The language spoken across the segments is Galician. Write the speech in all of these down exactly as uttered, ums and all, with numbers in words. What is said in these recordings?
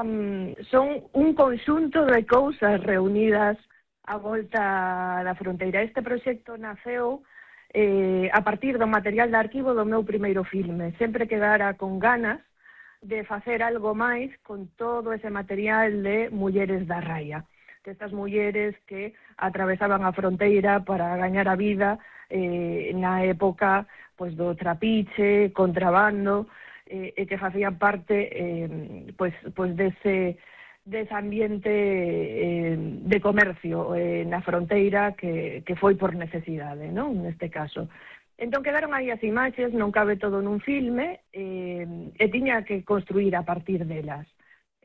um, son un conxunto de cousas reunidas a volta da fronteira. Este proxecto naceu eh, a partir do material de arquivo do meu primeiro filme. Sempre quedara con ganas de facer algo máis con todo ese material de mulleres da raia, de estas mulleres que atravesaban a fronteira para gañar a vida eh, na época pois, do trapiche, contrabando, eh, e que facían parte eh, pois, pois dese, dese ambiente eh, de comercio eh, na fronteira que, que foi por necesidade, non? Neste caso. Entón quedaron aí as imaxes, non cabe todo nun filme, eh, e tiña que construir a partir delas.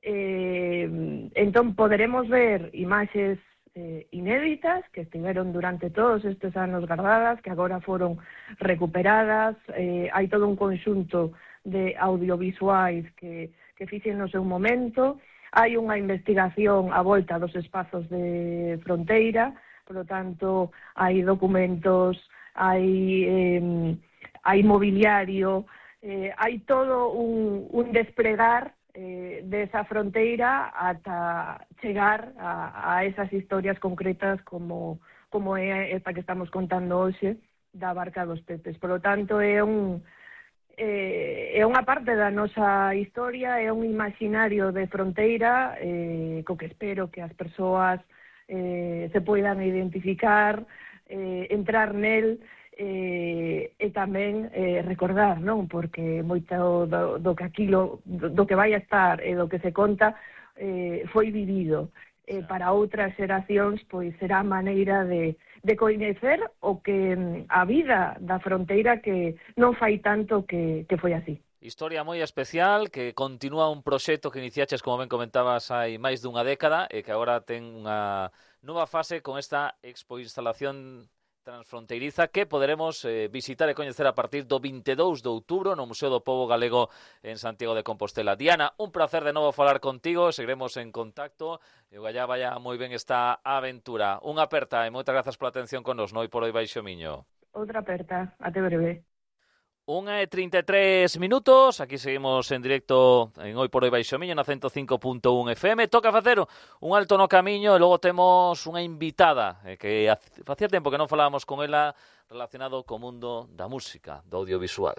Eh, entón poderemos ver imaxes eh, inéditas que estiveron durante todos estes anos guardadas, que agora foron recuperadas. Eh, hai todo un conxunto de audiovisuais que, que fixen no seu momento. Hai unha investigación a volta dos espazos de fronteira, por lo tanto hai documentos, hai, eh, hai mobiliario, eh, hai todo un, un despregar eh, desa fronteira ata chegar a, a esas historias concretas como, como é esta que estamos contando hoxe da Barca dos Peces. Por lo tanto, é un eh, é unha parte da nosa historia, é un imaginario de fronteira eh, co que espero que as persoas eh, se poidan identificar, Eh, entrar nel eh, e tamén eh, recordar, non? Porque moito do, do que aquilo, do, do que vai a estar e do que se conta eh, foi vivido. Eh, para outras xeracións, pois será maneira de, de coñecer o que a vida da fronteira que non fai tanto que, que foi así. Historia moi especial, que continúa un proxecto que iniciaches, como ben comentabas, hai máis dunha década e que agora ten unha nova fase con esta expoinstalación transfronteiriza que poderemos eh, visitar e coñecer a partir do vinte e dous de outubro no Museo do Pobo Galego en Santiago de Compostela. Diana, un placer de novo falar contigo, seguiremos en contacto e o gallá vaya moi ben esta aventura. Unha aperta e moitas grazas pola atención con nos no Hoy por Hoy Baixo Miño. Outra aperta, até breve. Unha e trinta e tres minutos, aquí seguimos en directo en Hoy por Hoy Baixo Miño na ciento cinco punto un F M. Toca facer un alto no camiño e logo temos unha invitada eh, que facía tempo que non falábamos con ela relacionado co mundo da música, do audiovisual.